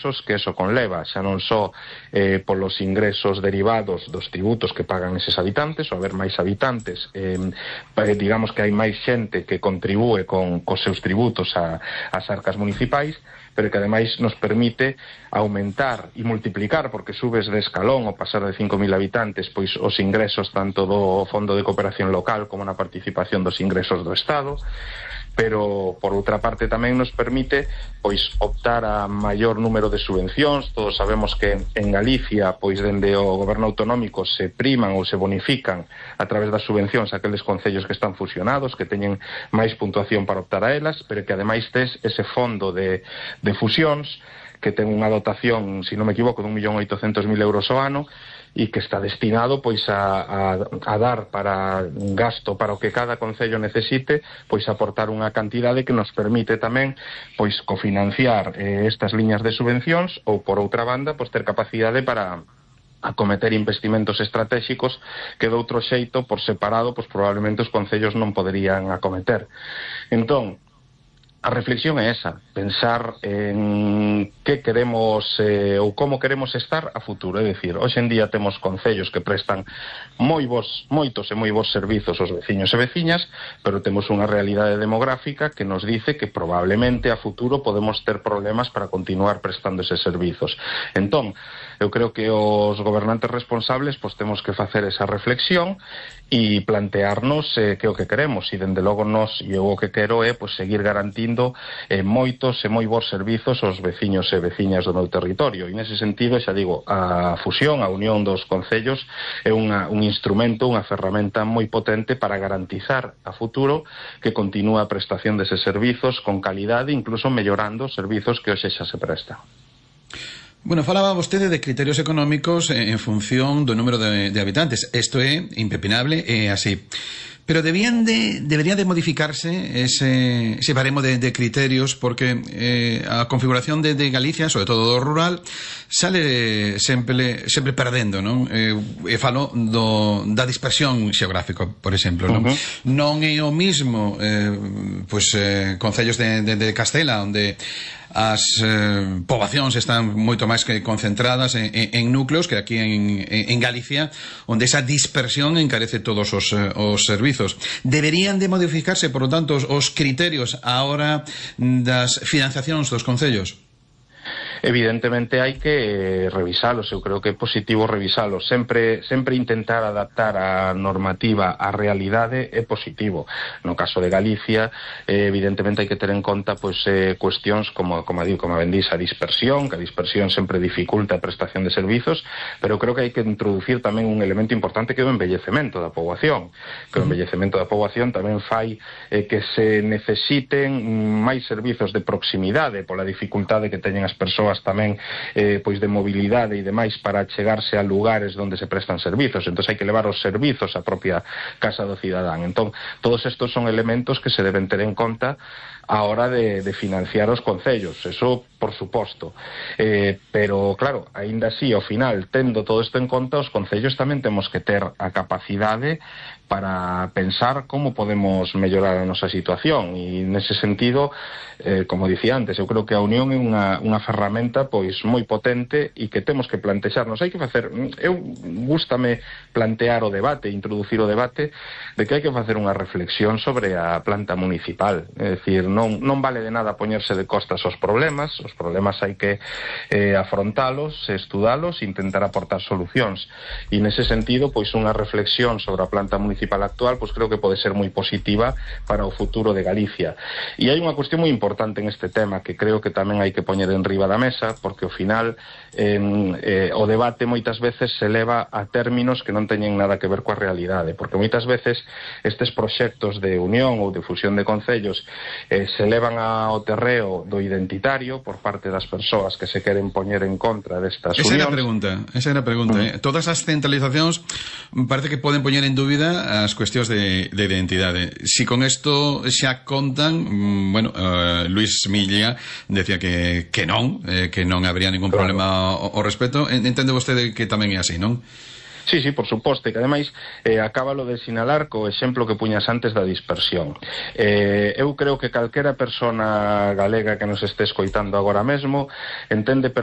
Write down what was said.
ingresos que eso conleva, xa non só polos ingresos derivados dos tributos que pagan eses habitantes, ou haber máis habitantes, digamos que hai máis xente que contribúe cos seus tributos ás arcas municipais, pero que ademais nos permite aumentar e multiplicar, porque subes de escalón ao pasar de 5.000 habitantes, pois os ingresos tanto do Fondo de Cooperación Local como na participación dos ingresos do Estado, pero por outra parte tamén nos permite pois optar a maior número de subvencións. Todos sabemos que en Galicia pois dende o goberno autonómico se priman ou se bonifican a través das subvencións aqueles concellos que están fusionados, que teñen máis puntuación para optar a elas, pero que ademais tes ese fondo de fusións que ten unha dotación, se non me equivoco, de 1.800.000 euros ao ano, e que está destinado pois a dar para un gasto para o que cada concello necesite, pois aportar unha cantidade que nos permite tamén pois cofinanciar estas liñas de subvencións, ou por outra banda pois ter capacidade para acometer investimentos estratégicos que de outro xeito, por separado, pois probablemente os concellos non poderían acometer. Entón, a reflexión é esa, pensar en que queremos ou como queremos estar a futuro. É dicir, hoxe en día temos concellos que prestan moitos e moi bons servizos aos veciños e veciñas, pero temos unha realidade demográfica que nos dice que probablemente a futuro podemos ter problemas para continuar prestando eses servizos. Entón, eu creo que os gobernantes responsables pois temos que facer esa reflexión e plantearnos que o que queremos, e dende logo eu o que quero é pois seguir garantindo moitos e moi bons servizos aos veciños e veciñas do meu territorio, e nese sentido, xa digo, a fusión, a unión dos concellos é un instrumento, unha ferramenta moi potente para garantizar a futuro que continúa a prestación deses servizos con calidade, incluso mellorando os servizos que hoxe xa se prestan. Bueno, falaba vostede de criterios económicos en función do número de habitantes. Isto é impepinable, é así. Pero debería de modificarse ese baremo de criterios, porque a configuración de Galicia, sobre todo do rural, sale sempre perdendo, non? E falo da dispersión xeográfica, por exemplo, non? Non é o mismo concellos de Castela, onde as poboacións están moito máis que concentradas en núcleos que aquí en Galicia, onde esa dispersión encarece todos os servizos. Deberían de modificarse, por lo tanto, os criterios a hora das financiacións dos concellos? Evidentemente hai que revisalos, eu creo que é positivo revisalos, sempre intentar adaptar a normativa á realidade é positivo. No caso de Galicia, evidentemente hai que ter en conta cuestións como ben dís, a dispersión, que a dispersión sempre dificulta a prestación de servizos, pero creo que hai que introducir tamén un elemento importante que é o envellecemento da poboación, que o envellecemento da poboación tamén fai que se necesiten máis servizos de proximidade pola dificultade que teñen as persoas tamén de mobilidade e demais para chegarse a lugares onde se prestan servizos. Entón hai que levar os servizos á propia casa do cidadán. Entón, todos estos son elementos que se deben ter en conta a hora de financiar os concellos, eso por suposto, pero claro, aínda así, ao final, tendo todo isto en conta, os concellos tamén temos que ter a capacidade para pensar como podemos mellorar a nosa situación, e nese sentido, como dicía antes, eu creo que a unión é unha ferramenta pois moi potente e que temos que plantexarnos. Hai que facer, gústame plantear o debate, introducir o debate de que hai que facer unha reflexión sobre a planta municipal, é dicir, non vale de nada poñerse de costas os problemas hai que afrontalos, estudalos e intentar aportar solucións, e nese sentido, pois unha reflexión sobre a planta municipal actual, pois creo que pode ser moi positiva para o futuro de Galicia. E hai unha cuestión moi importante en este tema que creo que tamén hai que poñer en riba da mesa, porque ao final o debate moitas veces se leva a términos que non teñen nada que ver coa realidade, porque moitas veces estes proxectos de unión ou de fusión de concellos se levan ao terreo do identitario por parte das persoas que se queren poñer en contra destas unións. Esa era a pregunta. Todas as centralizacións parece que poden poñer en dúbida as cuestións de identidade. Si con isto xa contan, Luis Milla decía que non habría ningún problema ao respecto. Entende vostede que tamén é así, non? Sí, por suposto, e que ademais acábalo de sinalar co exemplo que puñas antes da dispersión. Eu creo que calquera persona galega que nos este escoitando agora mesmo entende perfectamente